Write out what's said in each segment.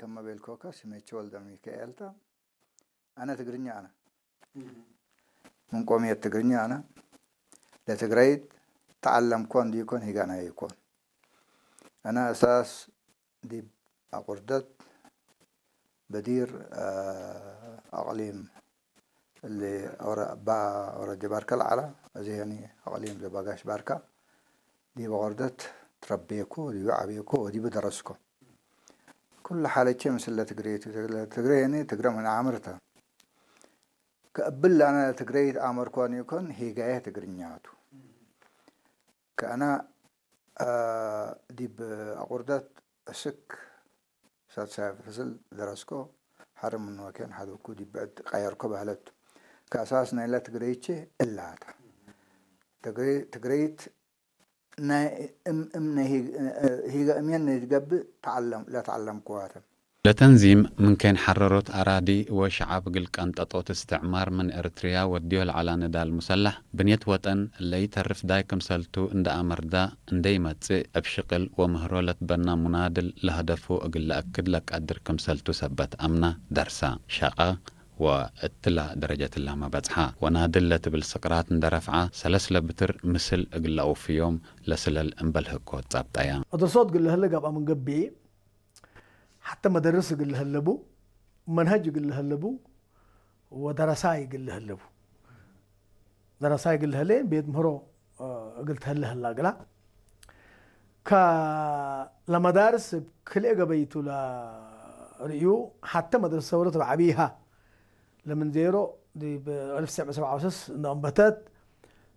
ከመ ቤልኮካ ስሜ ቸወልደ ሚካኤልታ። ኣነ ትግርኛ ኣነ። ምን ቆምየት ትግርኛ ኣነ። ለትግረይት ተዓለምኮን ዲኮን ሂጋና ይኮን። ኣነ ኣሳስ ዲብ ኣቁርደት በዲር ኣቅሊም اللي ورا با ورا جباركا العلا زيني أقليم زباقاش باركا دي بغردت تربيكو دي عبيكو ودي بدرسكو كل حالة شيء مثل تقريت تقريني تقرا من عمرتا كقبل أنا تقريت أمر كون يكون هي جاية تقرنياتو كأنا آه دي بأقردت أسك ሳልሳይ ክፍል ደረስኮ ሓደ ምንወኬን ሓደ ኩዲ ብዕድ ቀየርኮ ባህለት ከእሳስ ናይላ ትግረይቼ እላታ ትግረይት ናይ እም እም ናይ ሂጋ እምየን ናይ ትገብእ ተዓለም ለተዓለምክዋተን ለተንዚም ምን ከይን ሐረሮት ኣራዲ ወሸዓብ እግል ቀንጠጦት እስትዕማር ምን ኤርትርያ ወድዮ ለዐላ ንዳል ሙሰላሕ ብንየት ወጠን ለኢተርፍ ዳይ ክምሰልቱ እንዳ ኣመርዳ እንዴ ይመጽእ እብ ሽቅል ወምህሮ ለትበና ሙናድል ለሀደፉ እግል ለአክድ ለቀድር ክምሰልቱ ሰበት አምና ደርሳ ሸቀ ወእትላ ደረጀት እላመ በጽሓ ወናድል ለትብል ስቅራት እንደ ረፍዓ ሰለስ ለብትር ምስል እግል ለአውፍዮም ለስለል እምበል ህኮት ጸብጠያ። እት ሶት እግል ለህለ ገብአ ምን ገብእ ሐተ መደርስ እግል ለህለቡ መንሀጅ እግል ለህለቡ ወደረሳይ እግል ለህለቡ ደረሳይ እግል ለህሌ ቤት ምህሮ እግል ተህለ ህላ እግላ ከለመዳርስ እብ ክልኤ ገበይቱ ለርእዩ ሐተ መድረሰ ሰውረት እብ ዐቢይሃ ለምን ዜሮ ዲብ አልፍ ትስዕ ሚእቲ ሰብዓ ወሰስ እንደ አንበተት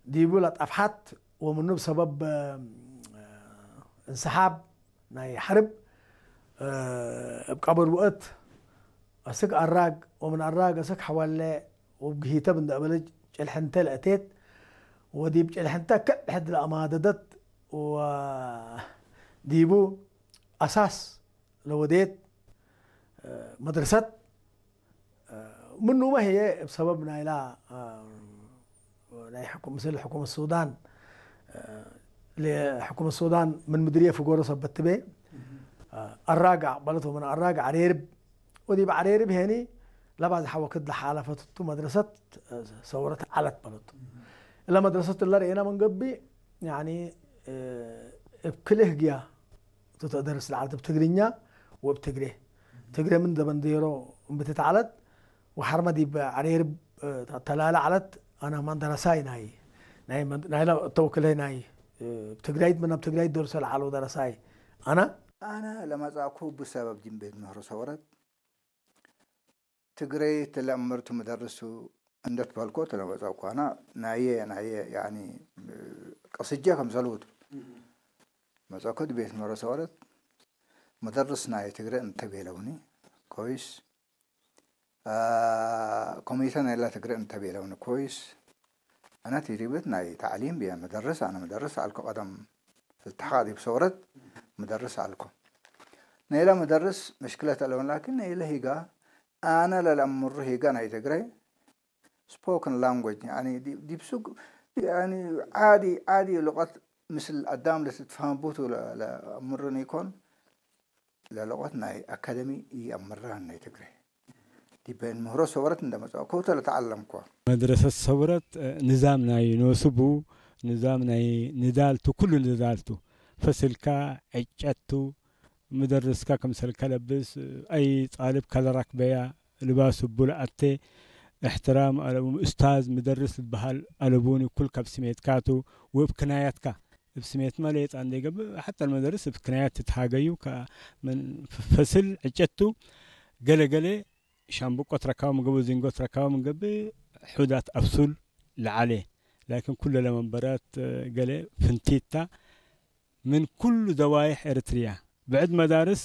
ዲቡ ለጠፍሐት ወምኑ ብሰበብ እንሰሓብ ናይ ሐርብ እብ ቀብር ውእት አስክ አራግ ወምን አራግ አስክ ሐዋለ ወእብ ግሂተብ እንደ አበለጅ ጨልሐንተ ለአቴት ወዲብ ጨልሐንተ ክዕ ሕድ ለአማደደት ወዲቡ አሳስ ለወዴት መድረሰት ምኑመ ህዬ እብ ሰበብ ናይላ ናይ ሕኩም ምስል ሕኩመት ሱዳን ለሕኩመት ሱዳን ምን ምድርየ ፍጎሮ ሰበት ትቤ አራግ አቅበለት ወምን አራግ ዐሬርብ ወዲብ ዐሬርብ ሄኒ ለባዝሐ ወክድ ለሓለፈትቱ መድረሰት ሰውረት ዐለት በለቱ። እለ መድረሰት እለ ርኤና ምን ገብእ ያኒ እብ ክልኤ ህግያ ቱ ተደርስ ለዐለት እብ ትግርኛ ወእብ ትግሬ። ትግሬ ምን ደበንዴሮ እምብትት ዐለት ወሐርመ ዲብ ዐሬርብ ተላለ ዐለት። አነ ማን ደረሳይ ናይ ናይ መን- ናይላ ተወክለይ ናይ ትግራይት ምን ኣብ ትግራይት ደርሰ ለዓለው ደረሳይ አነ አነ ለመጻእኩ ብሰበብ ዲን ቤት ምህሮ ሰወረት ትግረይ ትለምርቱ ምደርሱ እንደትበልኮ ትለመጻእኩ አና ናየ ናየ ያኒ ቅስጀ ከምሰልውቱ መጻእኩ ቤት ምህሮ ሰወረት መደርስ ናይ ትግረ እንተቤለውኒ ኮይስ ኮሚተ ናይላ ትግረ እንተቤለውኒ ኮይስ አነ ትሪብት ናይ ተዕሊም ብየ መደርስ አነ መደርስ አልኮ ቀደም ፍልትሓ ዲብ ሰውረት መደርስ አልኮ ናይላ መደርስ መሽክለት አለውን ላኪን ናይለ ሂጋ አነ ለለአምሩ ሂጋ ናይ ትግረ spoken language يعني ዲብ ሱቅ يعني عادي عادي لغة مثل አዳም ለትትፋህም ቡቱ ለአምርን ይኮን ለለቆት ናይ አካደሚ ኢአምራን ናይ ትግሬ ዲበን ምህሮ ሰወረት እንደመጽኦ ከውተ ለተዓለምኮ መድረሰት ሰውረት ንዛም ናይ ኖስቡ ንዛም ናይ ንዳልቱ ኩሉ ንዳልቱ ፈስልካ ዕጨቱ ምደርስካ ክምሰልካ ለብስ አይ ጣልብ ከለራክበያ ልባስ እቡ ለአቴ እሕትራም አለቡ እስታዝ ምደርስ ልበሃል አለቡኒ ኩል ካብ ስሜትካቱ ወእብ ክናያትካ እብ ስሜት መሌጣ እንዴ ገብእ ሐታ መደርስ እብ ክናያት ትትሃገዩ ከምን ፈስል ዕጨቱ ገለ ገለ ሻምብቆ ትረካቡ ምገብእ ዚንጎ ትረካቡ ምገብእ ሑዳት አብሱል ለዓሌ ላኪን ኩለ ለመንበራት ገለ ፍንቲታ ምን ኩሉ ደዋይሕ ኤርትርያ ብዕድ መዳርስ